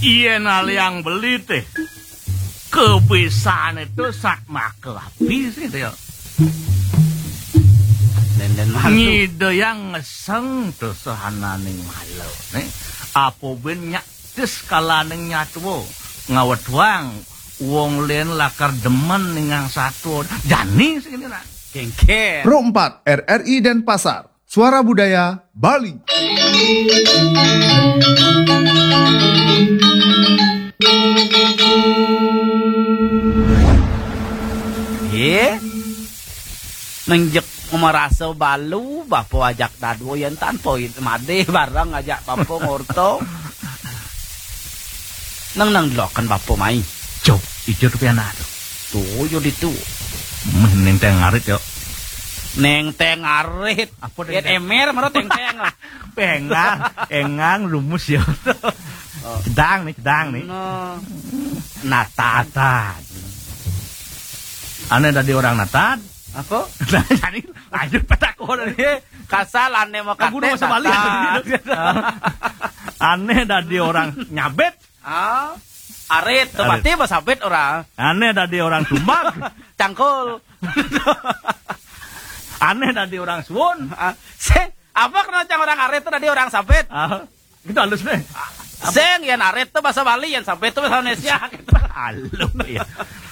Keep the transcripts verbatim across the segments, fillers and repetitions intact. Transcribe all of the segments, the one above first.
Yén aliang beli téh, kebisané to sak maka abis gitu ya. Dén-dén malu. Nyidayang ngeseng to sahananing malu. Né, apa bén nyak tis kalaning nyatwa. Ngawedwang wong lén lakar demen ningang satwa. Jani sing ini, nak. Kéngkén. Pro empat R R I Denpasar. Suara Budaya Bali. Yé. Nénjek marasa balu, bapa ajak dadua yén tanpa madé bareng ajak bapa ngorta. Nang, nang deloken bapa mai. Cok, ijo to pianak to. Tuh, yo ditu. Meh, néng téng arit, yo. Néng téng arit. Apa téng yén téng? Émér, mara téng téng. Péngang, éngang, lumus, yo. Oh. Cedang nih, cedang nih. No. Natad. Natad. Ané dadi orang natad. Apa? Jadi, lanjut petak orang. Iya, kasal ané mau Aku udah kates, masa balik. Natad. Ané dadi orang nyabet. Ah, arit, to arit. Berarti mah sabet orang. Ané dadi orang tumbak. Cangkul. Ané dadi orang suwun. Ah, sing, apa kena cang orang arit to dadi orang sabet? Ah, gitu halus nih. Sing, yén arit to bahasa Bali, yén sabet to bahasa Indonesia. Halus ya.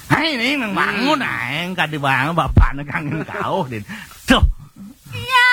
Hai, ini nang bangun, aing kadi bang bapakna kangen kauh, Din.